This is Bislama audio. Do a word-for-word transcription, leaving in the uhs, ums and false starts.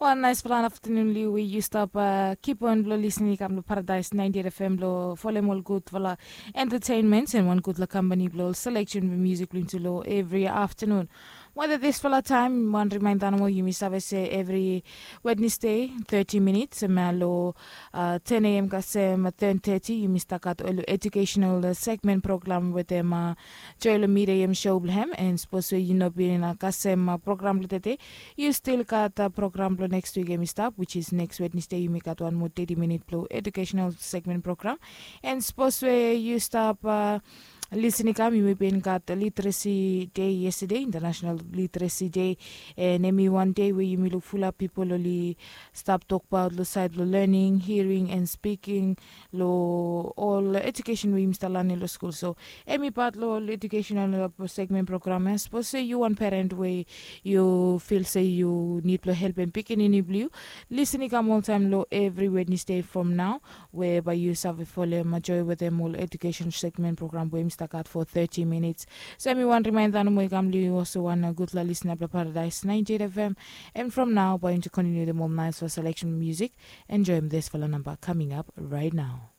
Wan naispela aftanun liu we yu stap kip on blong lisin i kam long Paradais ninety-eight F M blong folem ol gudfala entertainments and wan gudfala kampani blong ol selection blong musik blong yumi tu long evri aftanun. Weda disfala taem wan rimainda nomo, yumi save se evri Wednesday thirty minits em long ten a.m. kasem ten thirty yumi stap gat ol educational segment program wetem joel mide em show blong hem. And sapos we yu no bin kasem program blong tede, yu stil gat program blong next week em i stap, which is next Wednesday yumi gat wan moa thirty minit blong educational segment program. And sapos we yu stap lisin i kam, yumi bin gat literacy day yesterday, international literacy day. And em i wan day we yumi luk fulap pipol oli stap tokbaot long sait blong learning, hearing and speaking, long ol education we yumi stap lanem long skul. So em i pat long ol educational segment program ya. Sapos se yu wan peren we yu fil se yu nid blong helpem pikinini blong yu, lisin i kam oltaem long evri Wednesday from nao, we bae yu save folem joe wetem ol education segment program we yumi stap gat fo thirty minits. So em i wan rimainda nomo i kam long yu olsem wan gudfala lisina blong Paradais ninety-eight F M. And from nao bae yumi tu kontiniu wetem ol naispela selection musik. Enjoem disfala namba kaming ap raet nao.